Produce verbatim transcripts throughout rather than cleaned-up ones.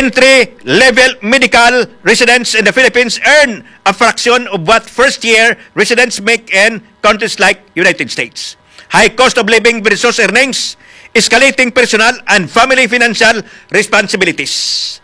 entry-level medical residents in the Philippines earn a fraction of what first-year residents make in countries like United States. High cost of living versus earnings, escalating personal and family financial responsibilities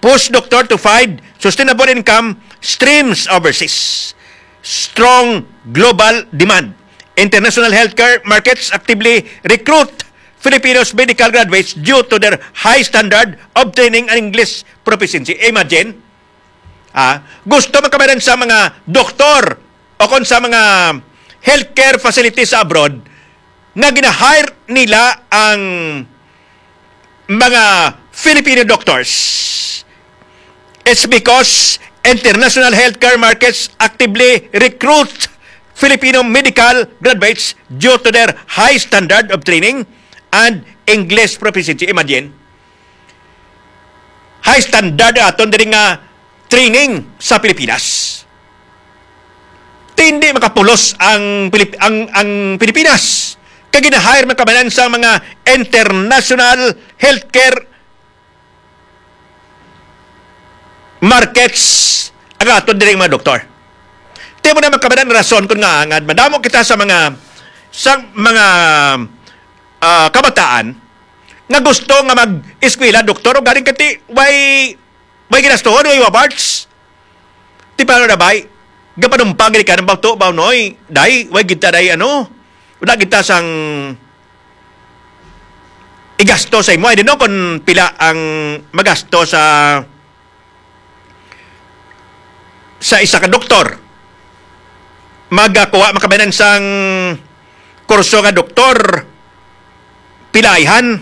push doctor to find sustainable income streams overseas. Strong global demand. International healthcare markets actively recruit Filipinos medical graduates due to their high standard of training and English proficiency. Imagine, ah, gusto man kabanan sa mga doktor o kon sa mga healthcare facilities sa abroad nga gina-hire nila ang mga Filipino doctors. It's because international healthcare markets actively recruit Filipino medical graduates due to their high standard of training and English proficiency. Imagine, high standard aton diri nga training sa Pilipinas. Ti hindi makapulos ang Pilip-, ang, ang Pilipinas. Kay gina-hire man kabanan sa mga international healthcare markets ang aton diri mga doktor. Ti mo na makabanan rason kung nga, nga madamo kita sa mga, sa mga, ah, kabataan nga gusto nga mag-eskwela doktor o galing kati way, way ginastuhon, way awards. Ti paano na bay? Gapanumpang gid ka ng bauto, ba, noy? Day, way kita day, ano? Wala kita sang igasto sa imo. I don't know kung pila ang magasto sa, sa isa ka doktor. Magakuha makabanan sang kurso nga doktor, pilaihan.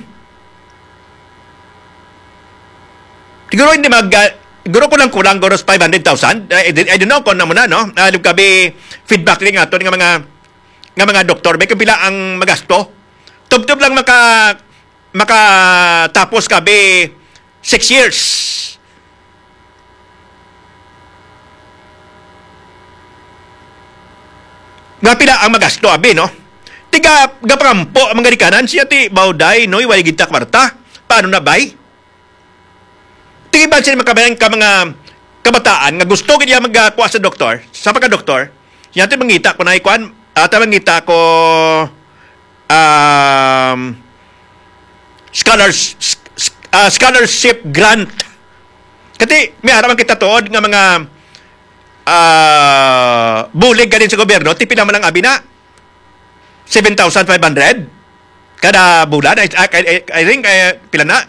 Siguro hindi mag, ah, siguro kulang-kulang, siguro five hundred thousand. I, I, I don't know kung ano mo na, no? Ah, kabi feedback rin nga to nga mga, nga mga doktor. May kapila ang magasto. Tubtob lang maka, makatapos kabi six years. Nga pila ang magasto, abi, no? Tiga, gapangampo ang mga ginikanan, siya ti, "Bawday, noy, way kita kwarta. Paano na, bay?" Tigiban sila makabayan ka mga kabataan nga gusto gid niya magkuha sa doktor, sa pagka-doktor. Siya ti mangita ko na ikuan, ata mangita ko, um, scholars-, s-, s-, ah, scholarship grant. Kati, may ara man kita tuod nga mga, ah, bulig galing sa gobyerno, ti pila man ang abi na? Seven thousand five hundred kada bulan. I, I, I, I think, eh, pila na?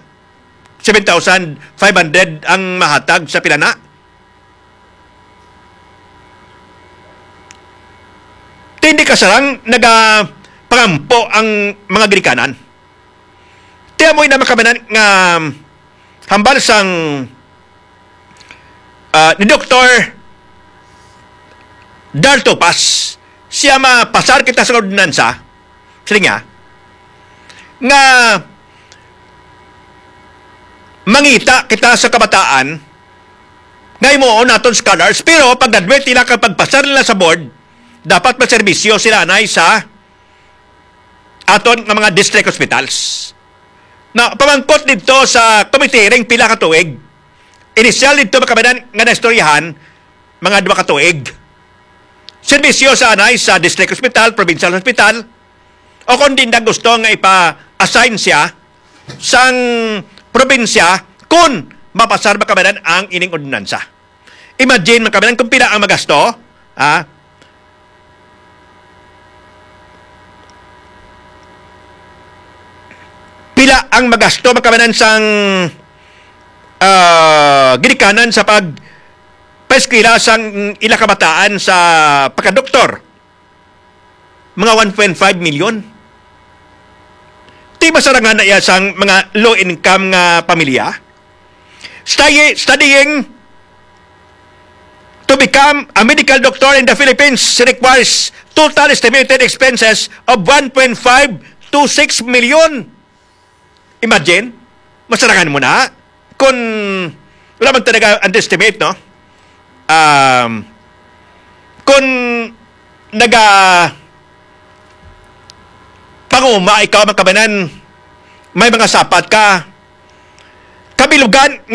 Seven thousand five hundred ang mahatag sa pila na? Ti hindi kasarang nagapangampo ang mga ginikanan. Ti amoy na makabanan nga hambal sang, ah, ni Doktor Dal Topas, siya mapasar kita sa ordinansa, siling niya, nga mangita kita sa kabataan nga himuon naton scholars, pero pag-graduate nila kag pagpasar nila sa board, dapat magserbisyo sila anay sa aton nga mga district hospitals. Na pamangkot didto sa committee ring pila ka tuig. Inisyal didto makabanan nga naistoryahan mga duha ka tuig. Serbisyo sa anay sa district hospital, provincial hospital, o kung di na gusto nga ipa-assign siya sang probinsya kung mapasar makabanan ang ining ordinansa. Imagine, makabanan, kung pila ang magasto, ha? Pila ang magasto, makabanan, sang, ah, ginikanan sa pag paeskwela sang ila kabataan sa pagkadoktor? Mga one point five million. Ti masarangan na iya sang mga low income nga pamilya. Study, studying to become a medical doctor in the Philippines requires total estimated expenses of one point five to six million. Imagine, masarangan mo na. Kung wala man talaga underestimate, no? Um, kung naga panguma ikaw, makabanan, may mga sapat ka, kabilugan